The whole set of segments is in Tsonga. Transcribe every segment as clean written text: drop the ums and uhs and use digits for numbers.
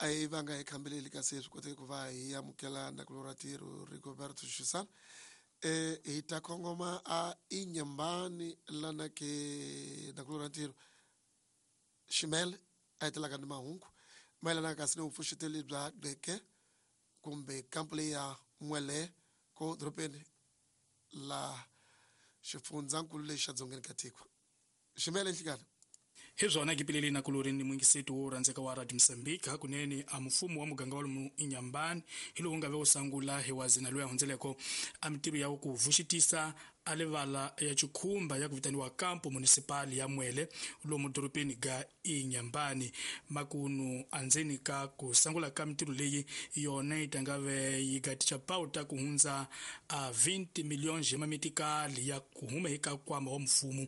A hi vanga hi khambeleli kasi swi koteke ku va hi amukela nakulorhi ntirho Rigoberto Xisana. Hi ta kongoma a Inyambani lana ke nakulorhi ntirho Ximele a hetelaka ni mahungu mayelana kasi ni vupfuxeteli bya Gqeke kumbe kampu leyi ya N'wele ko dorobeni la xifundzankulu lexi xa dzongeni ka tiko. Ximele nhlikani. Hi swona kipileli na kulori ni mwingiseti wo rhandzeka wa Radio Mozambique hakunene a mfumo wa muganga wa lomu Inyambani hi lowu nga ve wo sangula hi wazina loyi a hundzeleko a mitirho ya ku vuxitisa a livala ya chikhumba ya ku vitaniwa Campo Municipal ya Mwele lomu dorobeni ga Inyambani. Makunu andzeni ka ku sangula ka mitirho leyi yona yi ta ve yi gaticha pauta ku hundza a 20 milhões ya mamitikali ya ku huma eka nkwama wa mfumo.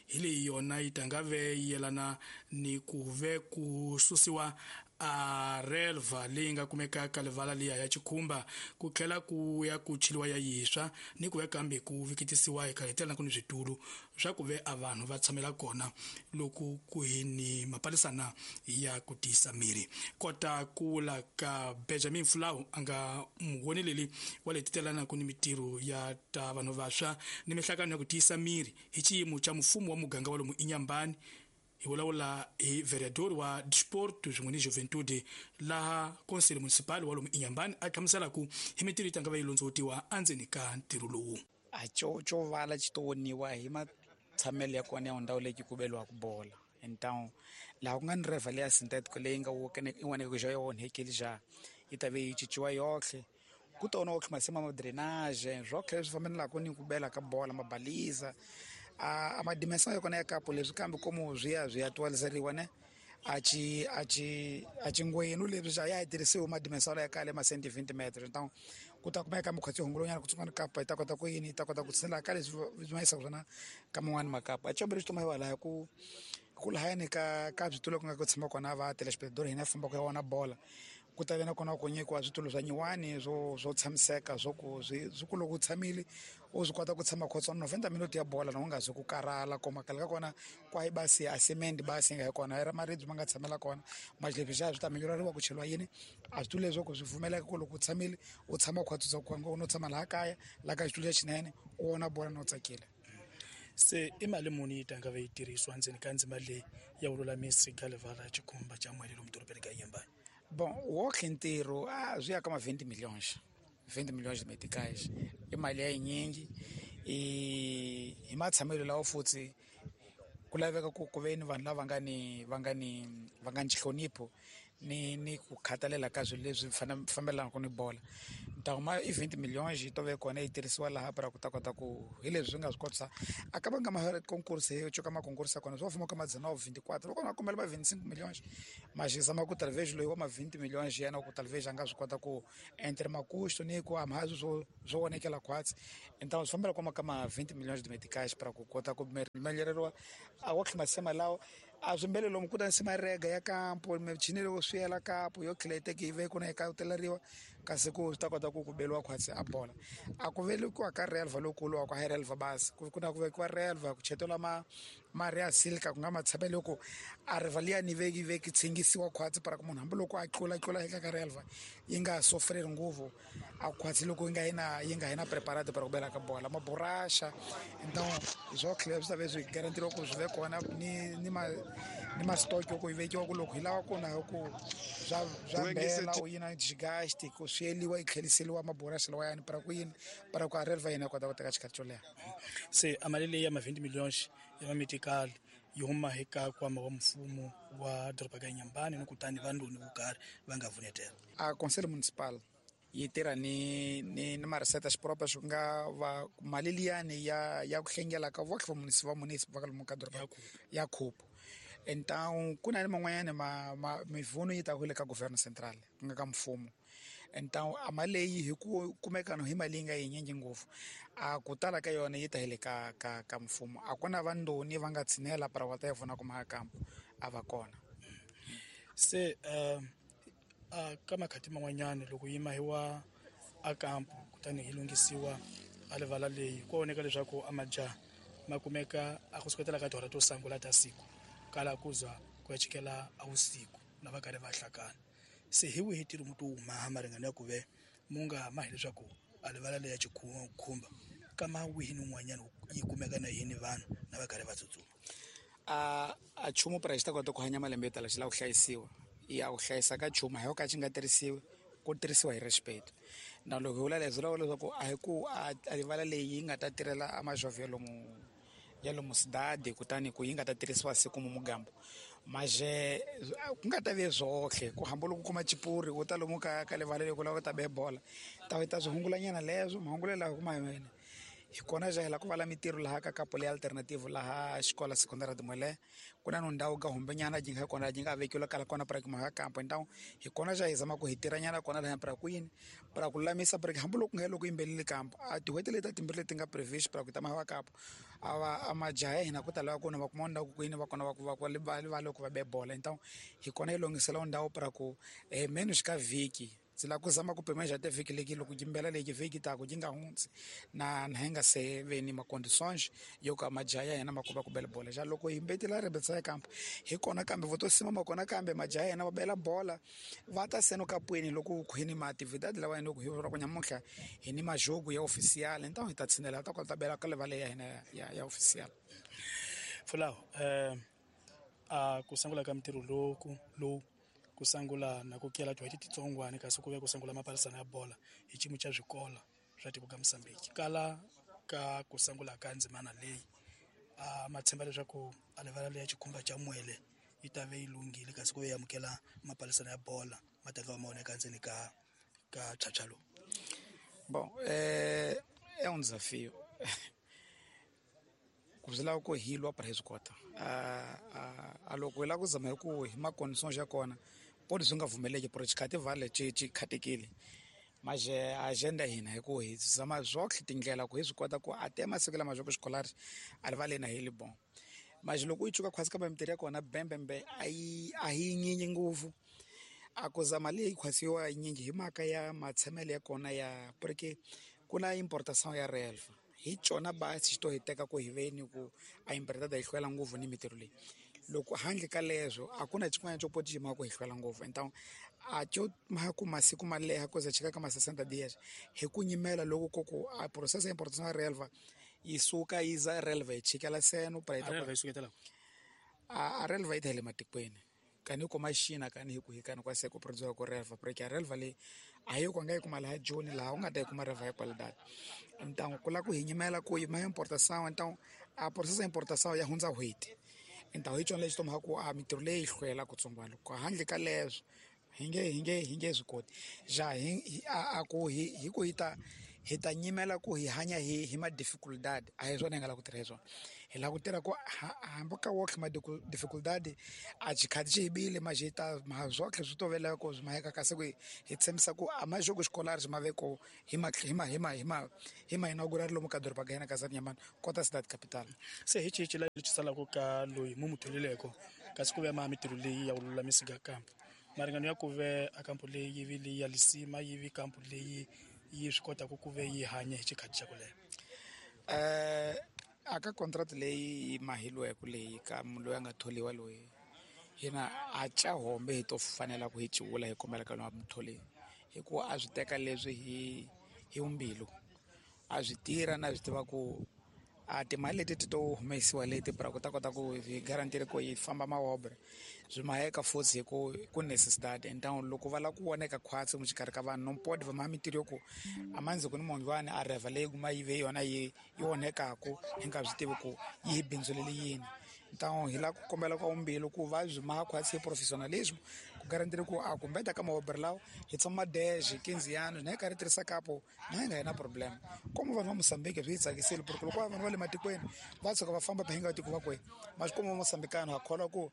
Hi leyi yona yi ta ve yi yelana ni ku ve ku susiwa a relva leyi nga kumeka ka livala liya ya chikhumba ku tlhela ku ya ku chiliwa ya yiswa ni ku ya kambe ku vikitisiwa hi khaletela ku ni switulu swa ku ve a vanhu va tshamela kona loko ku hi ni mapalisana ya ku tiyisa miri. Kota ku vula ka Benjamin Fulau a nga muwoneleli wa le titelana ku ni mitirho ya ta vanhu vantshwa ni mihlangano ya ku tiyisa miri hi xiyimo xa mfumo wa muganga wa lomu Inyambani. Hi vulavula hi vereador wa Desporto swin'we ni Juventude laha Conselho Municipal wa lomu Inyambani a hlamusela ku hi mitirho yi ta nga va yi londzovutiwa endzeni ka ntirho lowu. A co vala xi to woniwa hi matshamelo ya kona ya ndhawu leyi ku beliwaka bola. Então laha ku nga ni reva leya synthetic leyi nga in'wana xa yo onhekile xa yi ta ve yi cinciwa yohle. Ku tona otlhe masimu ma drainage swotlhe leswi fambelaka ni ku bela ka bola mabaliza a madimesa ya kona ya kapo leswi kambe komo swi ya swi ya twaliseriwa ne a ci a ci a cingwenu leswi xa ya tirhisiwa madimesa ya kale ma 120 meters. Então ku ta kumeka mukhatsi hungulonyana ku tsungana kapa yi ta kota ku yini yi ta kota ku tshinela ka leswi swi ma yisaka swona ka man'wani makapa. A combele xi toma hi ku ku lahayani ka ka switulu ku nga ku tshama kona va telespectator hina fambaka ya wona bola. Ku ta ve na kona ku nyikiwa switulu swa nyiwani swo tshamiseka swo ku swi ku loko u tshamile u swi kota ku tshama khotswana 90 minutes ya bola na u nga zi ku karhala ko makala ka kona kwa yi basi a cement basi nga hi kona ra maribye ma nga tshamela kona majlepi xa swi ta minyurariwa ku cheliwa yini a switulu leswo ku swi pfumeleka ku loko u tshamile u tshama khwatsa ku nga u tshama laha kaya laha ka xitulu lexinene u vona bola no tsakile. Se i mali muni yi ta nga ve yi tirhisiwa ndzeni ka ndzima leyi ya vululamisi ka livala xikhumba xa Mwele lomu dorobeni ka Inyambani? Bon, wotlhe ntirho a swi ya ka ma 20 milhões. 20 milhões de meticais. I mali ya yinyingi. Hi matshamelo lawa futhi ku laveka ku ve ni vanhu lava nga ni va nga ni va nga ni xihlonipho ni ku khathalela ka swilo leswi fambelanaka ni bola. Ntangu ma i 20 milhões yi to ve kona yi tirhisiwa laha para ku ta kota ku hi leswi swi nga swi kotisa a ka va nga ma concurso hi coka ma concurso kona swi va fuma ka ma 19 24 va kona va kombela ma 25 milhões ma xisa ma ku talvez loyi wa ma 20 milhões yena ku talvez a nga swi kota ku entre makusto ni ku amhazi swo swo vonekela khwatsi. Então swi fambela kwama ka ma 20 milhões de meticais para ku kota ku meleriwa a wa tlhima lawo a swimbele lomu ku ta nsima rega ya kampo michini loko swi yela kapo yo tlhela yi teke yi ve ku na yi kateleriwa kasi ku swi ta kota ku ku beliwa khwatsi a bola. A ku velekiwa ka relva lowukulu wa ku hayi relva basi ku na ku vekiwa relva ku chetela ma mari ya silka ku nga matshamelo ku a relva liya ni veki veki tshingisiwa khwatsi para ku munhu hambiloko a tlula tlula eka ka relva yi nga sofreri ngopfu a khwatsi loko yi nga yina yi nga yina preparado para ku bela ka bola maburasha. Então swo tlhela swi ta ve swi garantiriwa ku swi ve kona ni ma ni ma stock ku yi vekiwa ku loko hi lava ku na ku swa swa bela u yina desgaste ku swi yeliwa yi tlheliseliwa maburasha lawa yani para ku yini para ku a relva yina kota ku teka xikhathi xo leha. Se a mali leyi ya ma 20 milhões ya mametical yi huma eka nkwama wa mfumo wa doroba ka Inyambani ni kutani vandoni vo karhi va nga vunetela. A Conselho Municipal yi tirha ni ni mariseta xipropa xi nga va mali liyani ya ku hlengela ka votlhe va municipal va municipal va lomu ka doroba ya khupu. Então ku na ni man'wanyana ma mivuno yi ta ku le ka governo central ku nga ka mfumo. Então a mali leyi hi ku kumeka no hi mali yi nga yinyingi ngopfu a ku tala ka yona yi ta hi le ka ka ka mfumo. A ku na vandoni va nga tshinela para va ta yi pfuna ku makampo a va kona. Se a ka makhati man'wanyana loko yi mahiwa a kampo kutani yi lunghisiwa a livala leyi ku voneka leswaku a majaha ma kumeka a ku suketela ka tihora to sungula ta siku kala ku za ku ya chikela a vusiku na va karhi va hlakana. Se hi wihi ntirho mu to wu maha maringano ya ku ve mu nga mahi leswaku a livala leya Chikhumba kama wihi ni un'wanyana yi kumeka na yini vanhu na va karhi va tsutsuma? A nchumu pra xi ta kota ku hanya malembe yo tala xi lava ku hlayisiwa. Ya ku hlayisa ka nchumu a hi ka xi nga tirhisiwi, ku tirhisiwa hi respect. Na loko hi vula leswi vula leswaku a hi ku a livala leyi yi nga ta tirhela a majovho ya lomu cidade kutani ku yi nga ta tirhisiwa siku mu mugambo. Maje ku nga ta ve zwohle ku hambi loko u kuma chipuri u ta lomu ka livala leyi ku lava ku ta be bola ta ta swi hungulanyana leswo mahungulelo lawa kuma hi wena. Hi kona ja hi lava ku vala mintirho laha ka kapo leyi alternative laha xikola secondary Mwele ku na no ndhawu ka humbenyana yi nga kona yi nga vekiwa kala kona pra kuma kampo ndhawu hi kona ja hi zama ku hi tirhanyana kona laha pra ku yini pra ku lulamisa pra hambi loko nga loko yimbelele kampo a tin'hweti leti timbirhi leti nga previous pra ku ta ma kampo a va majaha ya hina ku ta lava ku va kuma ndhawu ku yini va kona va ku va ku va loko va be bola. Então hi kona hi lunghisela ndhawu pra ku menos ka vhiki ndzi lava ku zama ku pima te vhiki leki loko yimbela leki vhiki taku yi nga hundzi na hi nga se ve ni ma-conditions yo ka majaha ya hina ma kova ku bela bola. Ja loko hi mbetela rebetsa ya kampo hi kona kambe vo to sima ma kona kambe majaha ya hina va bela bola va ta seno kapweni loko ku hi ni ma-actividade lawa loko hi vula ku nyamuntlha hi ni majogo ya oficial então hi ta tshinela ta kota bela ka livala ya hina ya oficial. Fulawo a ku sungula ka mintirho lowu ku sungula na ku kela tin'hweti titsongwana kasi ku ve ku sungula mapalisana ya bola hi xiyimo xa swikolo swa tiko ka Mozambique. Kala ka ku sungula ka ndzimana leyi a ma tshemba leswaku a livala leya Chikhumba xa Mwele yi ta ve yi lunghile kasi ku ve yi amukela mapalisana ya bola ma ta va ma onhaka ndzeni ka phyaphyalo lowu. Bom, é um desafio. Ku swi lava ku hi lwa para hi swi kota. A loko hi lava ku zama hi ku hi ma-conditions ya kona poti swi nga pfumeleki por xikhati vhale xi khatekile. Maje agenda hina hi ku hi zama zwohle tindlela ku hi swi kota ku a te masiku lama swa ku xikolari a rivaleni a hi li bon. Maje loko u yi cuka khwatsi kambe mintirho ya kona bembembe a yi nyinyi ngopfu. A ku zama leyi khwatsiwa yinyingi hi mhaka ya matshamelo ya kona ya porque ku na importation ya relva. Hi cona basi xi to hi teka ku hi veni ku a importada hi hlwela ngopfu ni mintirho leyi. Loko handle ka leswo a ku na xin'wana xo poti xi mhaka ku hi hlwela ngopfu. Então a xo mhaka ku masiku ma leha ku za chika ka ma 60 dias hi ku nyimela loko ko ku a process ya importation ya relva yi suka yi za relva yi chikela seno pra relva yi suketela a relva yi ta le matikweni kani kuma xina kani hi ku hi kani kwa se ku produce ku relva porque a relva leyi a yi ku nga yi kuma laha Joni laha u nga ta yi kuma relva ya qualidade. Então ku lava ku hi nyimela ku yi ma importation então a process ya importation ya hundza n'hweti. Então hi xona lexi to mhaka ku a mintirho leyi yi hlwela kutsongwana loko handle ka leswo hi nge swi koti. Ja hi a ku hi ku hi ta nyimela ku hi hanya hi ma dificuldade a hi swona hi nga lava ku tirha hi swona. Hi lava ku tirha ku hambi ka wohle ma dificuldade a xikhati xi hibile ma ta ma zwohle swi tovela ku swi maheka kasi ku hi tshembisa ku a majogo xikolari xi ma ve ko hi ma hi ma hi ma hi ma hi ma inaugural lomu ka doroba ka hina ka Nyamani kota cidade capital. Se hi xihi lexi salaka ka loyi mu mu tholileko kasi ku ve ma mintirho leyi ya ku lulamisa ka kampo maringano ya ku ve a kampo leyi yi vi leyi ya lisima yi vi kampo leyi yi swi kotaka ku ve yi hanya hi xikhathi xa ku leha. A ka contract leyi mahiliweke leyi ka munhu loyi a nga tholiwa loyi hina a ca hombe hi to fanela ku hi ciwula hi kombela ka loyi a mutholi hikuva a swi teka leswi hi mbilu a swi tirha na swi tiva ku a timali leti ti to humesiwa leti pra ku ta kota ku hi garantile ku yi famba maobre swi maheka futhi hi ku ku necessidade. Então loko va lava ku voneka khwatsi exikarhi ka vanhu no podi va ma mintirho yo ku a mandzi ku ni munhu a reva leyi kuma yi ve yona yi onhekaku hi nga swi tivi ku yi hi bindzulele yini. Então hi lava ku kombela ka mbilu ku va byi maha khwatsi hi professionalism ku garantile ku a kumbeta ka maobre lawa hi tshama 10 15 anos na hi karhi tirhisa kapo na hi nga hi na problem. Como vanhu va Mozambique swi hi tsakisile porque loko vanhu va le matikweni va tshuka va famba va hi nga tiko va kwe ma swi kuma Mozambicano ha kholwa ku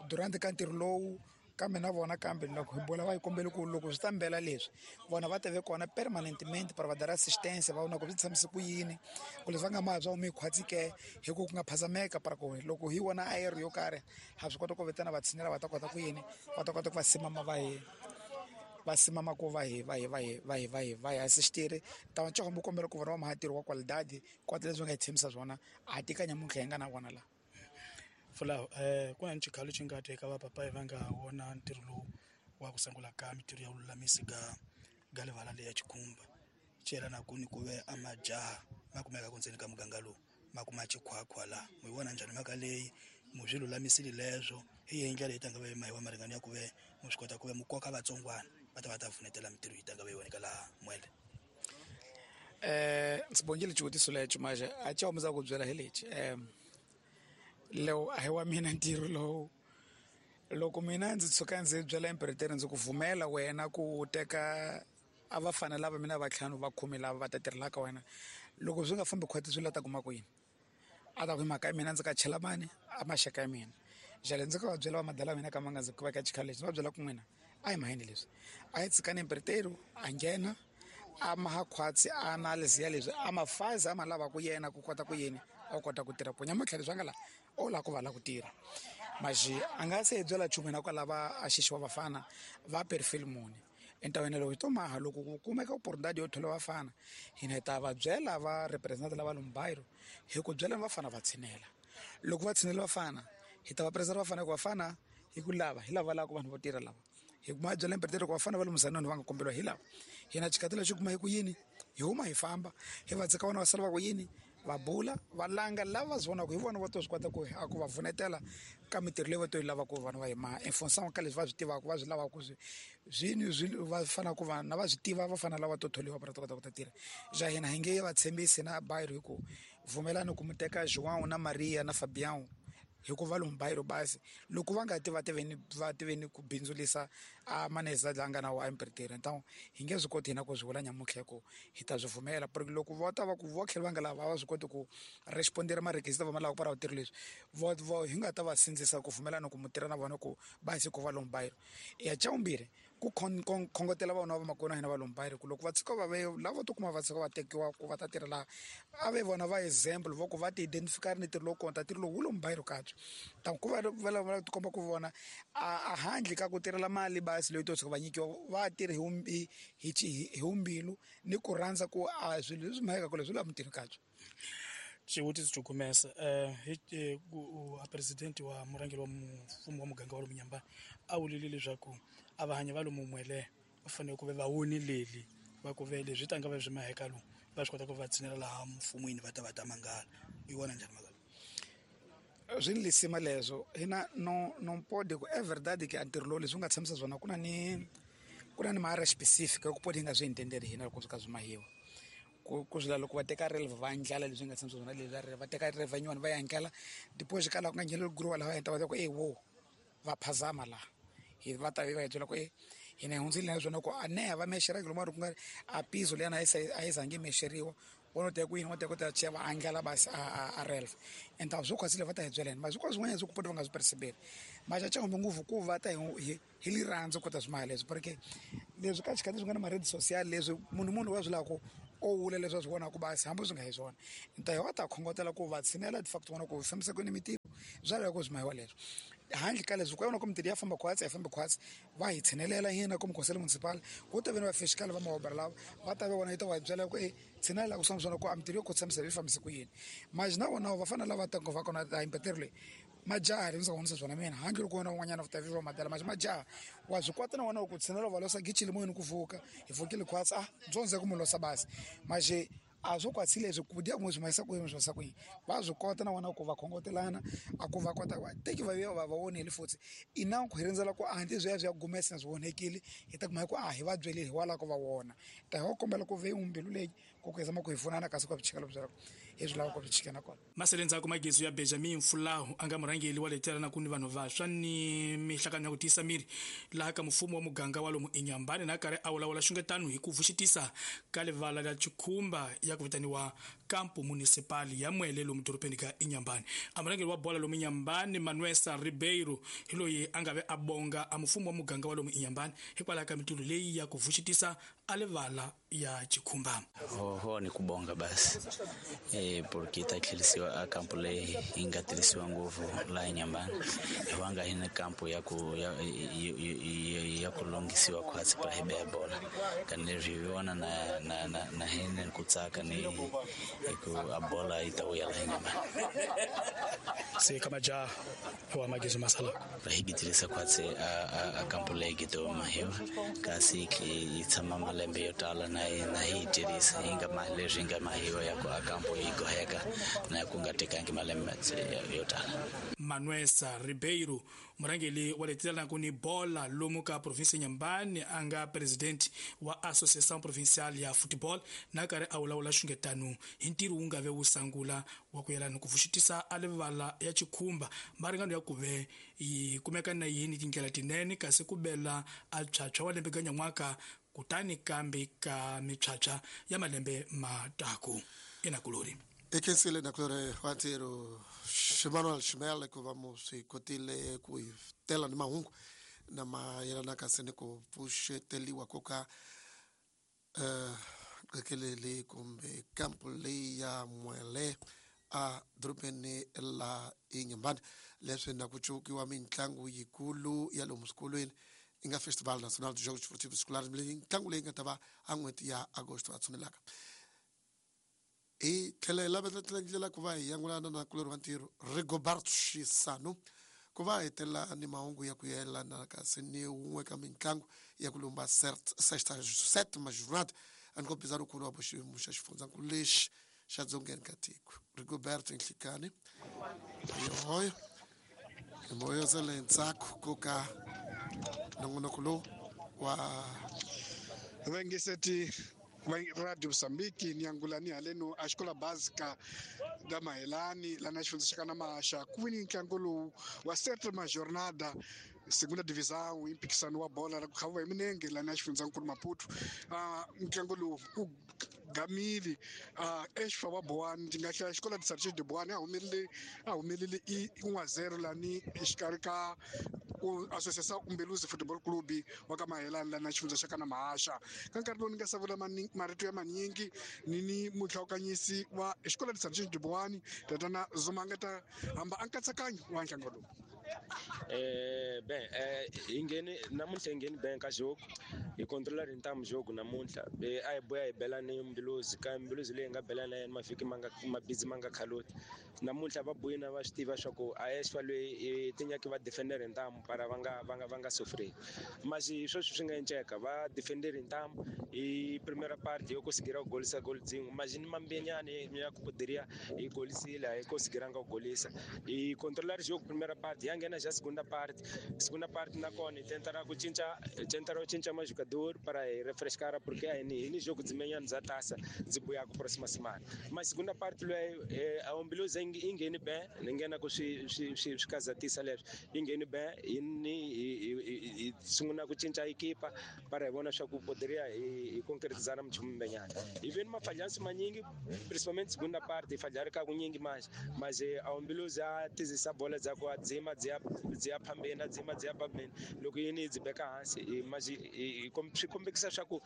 durante ka ntirho lowu kambe na vona kambe loko hi bola va yi kombele ku loko swi ta mbela leswi vona va teve kona permanentemente para va dara assistance va vona ku swi tshamise ku yini ku leswi va nga ma bya humi khwatsi ke hi ku ku nga phazameka para ku loko hi vona air yo karhi ha swi kota ku vitana va tshinela va ta kota ku yini va ta kota ku va simama va hi va simama ku va hi va hi va hi va hi va hi va hi assistire. Ta va ncoho kombela ku vona va mahatirho wa qualidade kota leswi nga hi tshembisa swona a tika nyamuntlha hi nga na vona la. Fulawo ku na xikhalo xi nga teka va papayi va nga wona ntirho lowu wa ku sungula ka mitirho ya vululamisi ga livala leya Chikhumba cela na ku ni ku ve a majaha ma kumeka ku ndzeni ka muganga lowu ma kuma chikhwakhwa la mu yi vona njhani mhaka leyi mu swi lulamisile leswo hi yihi ndlela yi tanga ve mahiwa maringano ya ku ve mu swi kota ku ve mu koka vatsongwana va ta va ta pfunetela mitirho yi tanga ve voneka laha Mwele. Ndzi bongile xivutiso lexo maje a xa humesa ku byela hi lexi lowu a hi wa mina ntirho lowu loko mina ndzi tshuka ndzi byela empereteri ndzi ku vumela wena ku teka a va fana lava mina vatlhanu va khume lava va ta tirhelaka wena loko swi nga fambi khwati swi la ta kuma ku yini a ta ku hi mhaka ya mina ndzi ka chela mani a maxaka ya mina jale ndzi ka va byela va madala ya mina ka ma nga ndzi va ka xikhala lexi ndzi va byela ku n'wina a hi mahini leswi a hi tshikani empereteri a nghena a maha khwatsi a analysis ya leswi a mafazi a ma lavaka yena ku kota ku yini a kota ku tirha ku nyamutlha leswi a nga la o lava ku va la ku tirha maxi a nga se hi byela nchumu yena kwalava a xixiwa vafana va perfil muni entawena loko hi to maha loko ku kumeka oportunidade yo thola vafana hina hi ta va byela va represent lava Lumbairo hi ku byela vafana va tshinela loko va tshinela vafana hi ta va present vafana ku vafana hi ku lava hi lava lava ku vanhu vo tirha lava hi kuma byela empereteri ku vafana va le Muzanoni va nga komberiwa hi lava hina xikati lexi kuma hi ku yini hi huma hi famba hi va tshika vona va sala va ku yini va bula va langa lava va swi vonaka hi vona va to swi kota ku a ku va pfunetela ka mitirho leyi va to yi lavaka vanhu va yi maha in função ka leswi va swi tivaka va swi lavaka swi swi va fanele ku va na va swi tiva va fanele lava to tholiwa va ta kota ku ta tirha ja hina hi nge va tshembisi na bayiro hi ku pfumelani ku mu teka João na Maria na Fabião hikuva lomu bayiro basi loko va nga ti va tiveni va tiveni ku bindzulisa a maneza la nga na wa empereteri então hi nge swi koti hina ku swi vula nyamutlha ku hi ta swi pfumela porque loko va ta va ku vo tlhela va nga lava va swi koti ku respondera marequisito va ma lavaka para vatirhi leswi vo hi nga ta va sindzisa ku pfumelana ku mu tirha na vona ku basi ku va lomu bayiro ya xa vumbirhi ku khongotela vona va makona hina va lomu bayiro ku loko va tshuka va ve lava to kuma va tshuka va tekiwa ku va ta tirha laha a ve vona va example va ku va ti identify ni ntirho lowu kona ntirho lowu wu lomu bayiro kabye ta ku va va tikomba ku vona a handle ka ku tirhela mali basi leyi to tshuka va nyikiwa va tirhi hi mbilu ni ku rhandza ku a swilo leswi maheka leswi la mutini kabye. Xivutiso xo kumesa a president wa murhangeri wa mfumo wa muganga wa lomu Nyambani a vulile leswaku a va hanya va lomu Mwele va fanele ku ve va wonileli va ku ve leswi tanga va swi maheka lowu va swi kota ku va tshinela laha mfumweni va ta va ta mangala yi vona njhani mhaka swi ni lisima leswo hina no pode ku é verdade que a ntirho lowu leswi nga tshamisa swona ku na ni maara specific ku pode hi nga swi intendeli hina loko swi ka swi mahiwa ku swi loko va teka relva va ndlala leswi nga tshamisa swona leswi va teka relva nyuwani va ya ndlala depois ka laha ku nga ngheneli guruwa laha va heta va ta ku e wo va phazama laha hi va ta va hi byela ku e hina hi hundzile na swona ku a neha va mexera ku mara ku nga a piso leyana a yi zangi mexeriwa vona ta ku yini va ta kota ku va andlala basi a relva and a swo khwasile va ta hi byela hina mara swikolo swin'wanyana swi ku pota va nga swi percebeli maxa xa humbe ngopfu ku va ta hi lirhandzu kota swi maha leswi porque leswi ka xikhathi swi nga na ma-rede social leswi munhu wa swi lava ku o vula leswi a swi vonaka basi hambi swi nga hi swona nta hi va ta khongotela ku va tshinela de facto vona ku fambisa kwini mitirho bya lava ku swi mahiwa leswi handle ka leswi ku vona ku mitirho ya famba khwatsi ya fambi khwatsi va hi tshinelela hina ku conselho municipal ku ta veni va fiscal va maobra lava va ta va vona yi ta va byela ku e tshinela ku swona ku a mitirho yo ku tshamisa yi fambise ku yini maji na vona va fanele lava ta va kona ta impetere leyi majaha ri ndzi vonisa swona mina handle loko wena un'wanyana u ta viva madala maji majaha wa swi kota na wena ku tshinela va losa gichile moyeni ku vuka hi vukile khwatsi a dzonze ku mu losa basi maje a swo kwatsi leswi ku dya ku swi mahisa ku yini swi mahisa ku yini va swi kota na wena ku va khongotelana a ku va kota teki va va va vonile futhi ina ku rindzela ku a ndzi swi ya swi ya gumesa swi vonekile hi ta kuma ku a hi va byelile hi wala ku va vona ta hi kombela ku ve mbilu leyi ku ku zama ku hi pfunana kasi ku chikela byela hi swi lava ku chikela kona masele ndzhaku magezu ya Benjamin Fulahu a nga murhangeri wa letela na ku ni vanhu vantshwa ni mihlakano ya ku tiyisa miri laha ka mfumo wa muganga wa lomu Inyambani na karhi a vulavula xungetano hi ku vuxitisa ka livala la Chikhumba ya ku vitaniwa Campo Municipal ya Mwele lomu dorobeni ka Inyambani. A murhangeri wa bola lomu Inyambani Manuel Ribeiro hi loyi a nga ve a bonga a mfumo wa muganga wa lomu Inyambani hikwalaho ka mitirho leyi ya ku vuxitisa a livala ya Chikhumba. Ho ni kubonga basi porque ta tlherisiwa a kampo leyi yi nga tirhisiwa ngopfu laha Inyambani hi va nga hi na kampo ya ku ya ku lunghisiwa khwatsi para hi beya bola kani leswi hi vona na na na na hina ku tsaka ni hi ku a bola yi ta vuya laha Inhambane. Se ka majaha wa magizo masala hi gitirisa khwatsi a kampo leyi gito mahiwa kasi yi tshama malembe yo tala na na hi tirhisa hi nga leswi hi nga mahiwa ya ku a kampo yi goheka na ku nga tekangi malembe yo tala. Manuel Ribeiro, murangeli wa letilanaka ni bola lomu ka provinsi Inhambane, a nga president wa Associação Provincial ya Football, na karhi a vulavula xungetano hi ntirho wu nga ve wu sangula wa ku yelana ku pfuxetisa a livala ya Chikhumba maringano ya ku ve yi kumeka na yini tindlela tinene kasi ku bela a phyaphywa wa lembe ka nyan'waka kutani kambe ka miphyaphywa ya malembe mataku enakulori. Ekhensile nakulori wa ntirho Ximanuel Ximele ku va mu swi kotile ku hi tela ni mahungu na mayelanaka se ni ku pfuxeteliwa ko ka qekeleli kumbe kampu leyi ya Mwele a dorobeni la Inhambane, leswi na ku cukiwa mitlangu yikulu ya lomu swikolweni yi nga Festival Nacional de Jogos Esportivos Escolares, mitlangu leyi nga ta va a n'hweti ya Agosto a tshunelaka. Hi tlhela hi lavetela ndlela ku va hi yangulana na kulori wa ntirho Rigoberto Xisano ku va hetela ni mahungu ya ku yelana kasi ni wun'we ka mitlangu ya ku lumba sexta sétima jornada a ni kombisa lukulu wa xiyimo xa xifundzankulu lexi xa dzongeni ka tiko. Rigoberto Nhlikani yoyo hi moya se le ndzhaku ko ka nongonoko lowu wa vengeseti Radio Mozambique ni angulani haleno a xikola básica da Mahelani lana xifundza xa kana Maxa ku vini ntlangu lowu wa sétima jornada segunda divisão i mphikisano wa bola ra ku khaviwa hi minenge lana xifundzankulu Maputo. Ntlangu lowu ku gamile exfa wa Boane ndzi nga hlaya xikola de Sargent de Boane a humelele i 1-0 lani exikarhi ka Associação Umbeluzi Football Club wa ka Mahelani lana xifundza xa kana Mahaxa. Ka nkarhi lowu ni nga savula marito ya manyingi ni muhlawukanyisi wa xikola de Sargent de Boane tatana Zuma nga ta hamba a nkatsakanyo wa ntlangu lowu. Bem, hi ngheni namuntlha hi ngheni ben ka jogo hi controla ri ntamu jogo namuntlha a hi boya hi bela ni Mbiluzi ka Mbiluzi leyi nga bela na yena mavhiki ma nga mabhizi ma nga khaloti namuntlha va boyina va swi tiva swa ku a esfa loyi tinyaki va defender hi ntamu para va nga sofreli masi sweswi swi nga enceka va defender hi ntamu hi primera parte yo kosigera ku golisa gol dzin'we masi ni mambenyani ya ku poderia hi golisile a hi kosigiranga ku golisa hi controla ri jogo primera parte ya nghena xa segunda parte. Segunda parte nakona hi tentara ku cinca hi tentara ku cinca majogador para hi refrescar porque a hi ni jogo dzimenyana bya tasa ndzi buyaka próxima semana. Mas segunda parte loyi a Umbiluzi yi ngheni ben ni nghena ku swi kazatisa leswi yi ngheni ben hi ni hi sungula ku cinca ekipa para hi vona swa ku poderia hi concretizar mchumu mbenyana hi veni mafalhansi manyingi principalmente segunda parte hi falhari ka kunyingi manje mas a Umbiluzi a tizisa bola dzaku a dzima dzi ya phambeni a dzima dzi ya phambeni loko yini yi dzi beka hansi masi swi kombekisa swa ku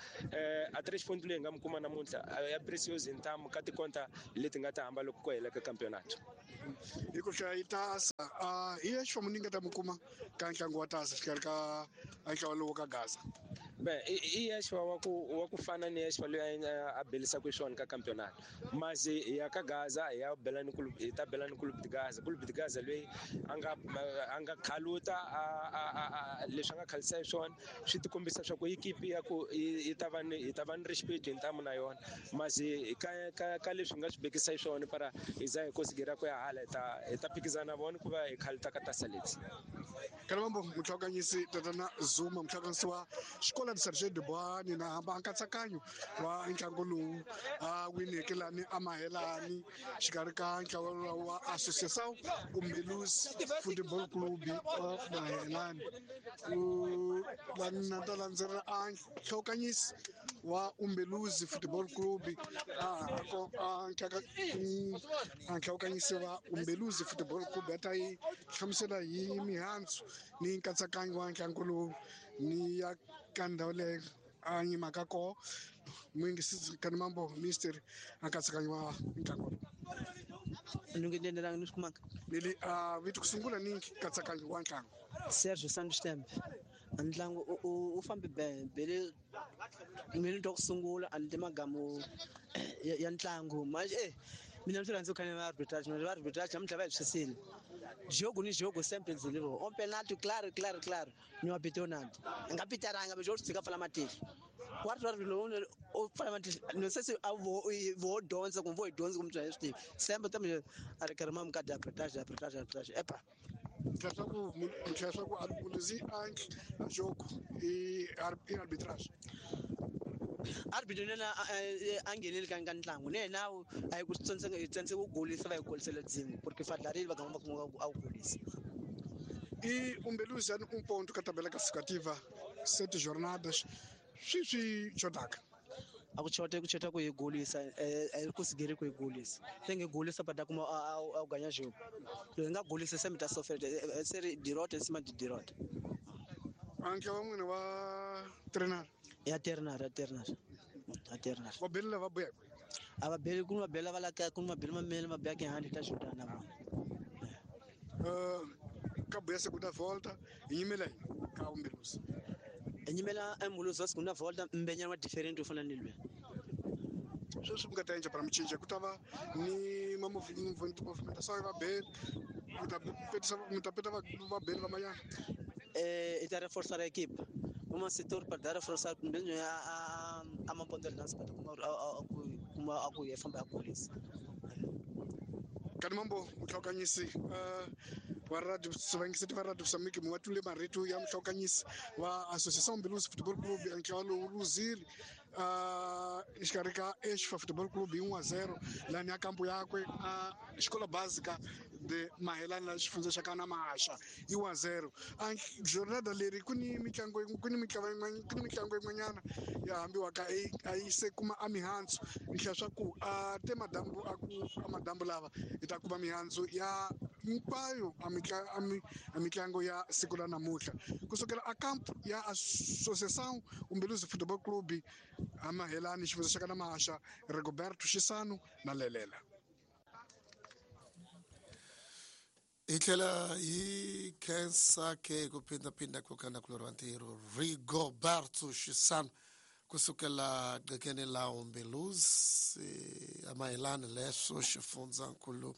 a 3 point leyi hi nga mi kuma namuntlha ya precioso hi ntamu ka tikonta leti nga ta hamba loko ku hela ka campeonato. Hi ku hlaya yi tasa hi ya xifambo ni nga ta mi kuma ka ntlangu wa tasa xikarhi ka ntlawa lowu ka Gaza. Bem, i Yeshua wa ku fana ni Yeshua loyi a belisaka xiswona ka campeonato mas hi ya ka Gaza hi ya bela ni club hi ta bela ni club de Gaza, club de Gaza loyi a nga khaluta a leswi a nga khalisa hi swona swi ti kombisa swa ku ekipi ya ku yi ta va ni hi ta va ni respect hi ntamu na yona mas ka leswi hi nga swi bekisa hi swona para hi za hi kosigira ku ya hala hi ta phikizana na vona ku va hi khaluta ka tasa leti. Kalamambo muhlawukanyisi tatana Zuma muhlawukanyisi wa xikola de Sergent de Boane na hamba nkatsakanyo wa ntlangu lowu a wineke lani a Mahelani xikarhi ka ntlawa wa Associação Umbeluzi Football Club wa Mahelani ku lani na ta landzelela a nhlawukanyisi wa Umbeluzi Football Club a nhlawukanyisi wa Umbeluzi Football Club a ta yi hlamusela hi mihandzu ni nkatsakanyo wa ntlangu lowu ni ya ka ndhawu leyi a yimaka koho muyingisisi Kanimambo mister a nkatsakanyo wa ntlangu lowu. Ni ni swi kumaka. Leli vito ku sungula ni nkatsakanyo wa ntlangu. Sergio Santos Tembe. Ntlangu u fambe bele minute ku sungula a ni magamu ya ntlangu manje mina ndzi rhandza ku khana arbitrage na arbitrage namuntlha va hi swisile jogo ni jogo sempre dzilivo on penalty claro claro claro ni wa bitonad nga pitaranga be jogo tsika pfala matihlo wa ri lo o pfala matihlo no se se a vo dyondza kumbe vo hi dyondza kumbe swi tivi sempre tambe a ri karhi ma mukadi arbitrage arbitrage arbitrage epa Mtlhaku Muluzi a jogo i arbitrage. Arbitro nena a ngheneli ka ntlangu ne na a yi ku tsantse ku golisa va yi golisela dzimu porque fadlarile va gamba kuma a ku golisa. E Umbeluzi um ponto ka tabela classificativa 7 jornadas swi xotaka. A ku chota ku chota ku yi golisa a ku sigeri ku yi golisa se nge golisa pada kuma a ganya jogo lo nga golisa se mita sofela se ri dirote sima di dirote. Anke wa n'wina wa trainer ya ternar ya ternar ya ternar va bela va buya a va beli ku va bela va la ka ku va bela mamele ma bya ke handi ta xotana va ka buya segunda volta yimela ka Umbeluzi enyimela Umbeluzi wa segunda volta mbenyana wa different ufana ni lwe sweswi nga ta endla para michinja ku ta va ni ma movimentação va beli mi ta peta va beli va mayana e ta reforçar a equipe uma setor para dar reforçar mesmo a uma ponta de lança para kuma a ku famba a polícia Kani mambo mhlokanyisi wa radio Sivangisi va radio Mozambique muwatule marito ya mhlokanyisi wa Associação Umbeluzi Futebol Clube ntlawa lowu luzile exikarhi ka Exfa Futebol Clube 1-0 lani ya kampo yakwe a Escola Básica de Mahelani la xifundza xa kana Maxa i 1-0. A jornada leri ku ni mitlangu ku ni mitlangu yin'wanyana ya hambiwaka a yi se kuma a mihandzu nhlaya swa ku a te madambu a ku a madambu lava hi ta kuma mihandzu ya hinkwayo a mitlangu ya siku la namuntlha kusukela a kampo ya Associação Umbeluzi Futebol Clube a Mahelani xifundza xa kana Maxa Rigoberto Xisano na Lelela. Hi tlhela hi khensa ke ku phindaphinda ku kana ku loriwa ntirho Rigoberto Xisano kusukela qekeni la Umbeluzi a Mahelani leswo xifundzankulu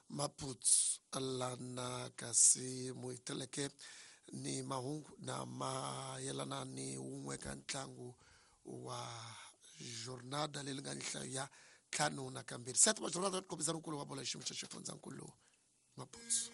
Maputo lana kasi muhiteleke ni mahungu na mayelana ni wun'we ka ntlangu wa jornada leyi nga nhlayo ya 52 sete wa jornada kombisa nkulu wa bola xiyimo xa xifundzankulu Maputo.